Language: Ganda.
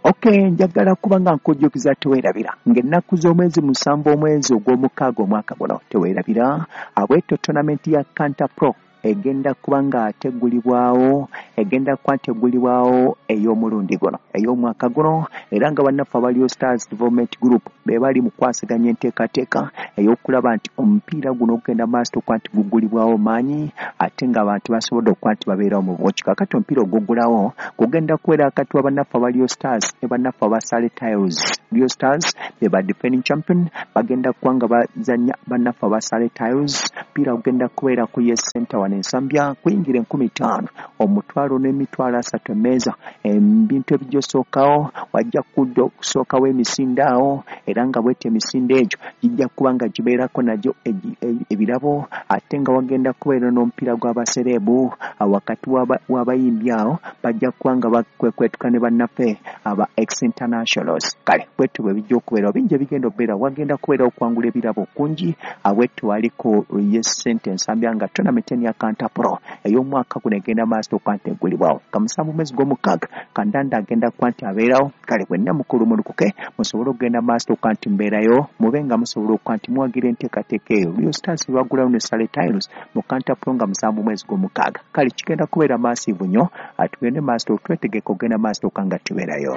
Okay, njagala kuba nga nkujjukiza, teweerabira ng'ennaku z'omwezi 7 omwezi ogw'omukaaga omwaka guno, teweerabira abwetyo tournament ya Kanta Pro egenda kuba nga teggulibwawo, egenda kuba nteggulibwawo ey'omulundi guno, ey'omwaka guno, era nga bannaffe aba Real Stars Development Group be bali mu kwasaganya enteekateeka ey'okulaba nti omupiira guno ogenda maaso okuba nti guggulibwawo maanyi, ate ng'abantu basobodde okuba nti babeerawo mu bungi. Kaakati omupiira oguggulawo gugenda kubeera wakati wa bannaffe aba Real Stars ne bannaffe aba Sale Tiles. Real Stars be ba defending champion, bagenda kuba nga bazannya bannaffe aba Sale Tiles. Omupiira gugenda kubeera ku Yes Center wano Ensambya, kuyingira 5000, 1,000 n'30,000 emmeeza. Ebintu ebijja osookawo, wajja kudda okusookawo emisinde awo, era nga bwetyo emisinde egyo gijja kuba nga gibeerako nagyo ebirabo, ate nga wagenda kubeera n'omupiira gw'abasereebu wakati w'abayimbi awo, bajja kuba nga bakwekwetuka ne bannaffe aba ex internationals. Kale bwetyo bwe bijja okubeerawo, bingi ebigenda okubeerawo, wagenda kubeerawo okwangula ebirabo kungi. Bwetyo waliko Yes Center Ensambya nga tournament ya Kanta Pro ey'omwaka guno egenda maaso okuba nti eggulibwawo nga 7 mwezi gw'omukaaga. Kandanda agenda kuba nti abeerawo. Kale bwenna mukulu mulukuke musobole okugenda maaso okuba nti mubeerayo, mube nga musobola okuba nti muwagira enteekateeka eyo Real Stars baggulawo ne Sale Tiles mu Kanta Pro nga 7 mwezi gw'omukaaga. Kale kigenda kubeera massive nnyo, tugende maaso twetegeke okugenda maaso okuba nga tubeerayo.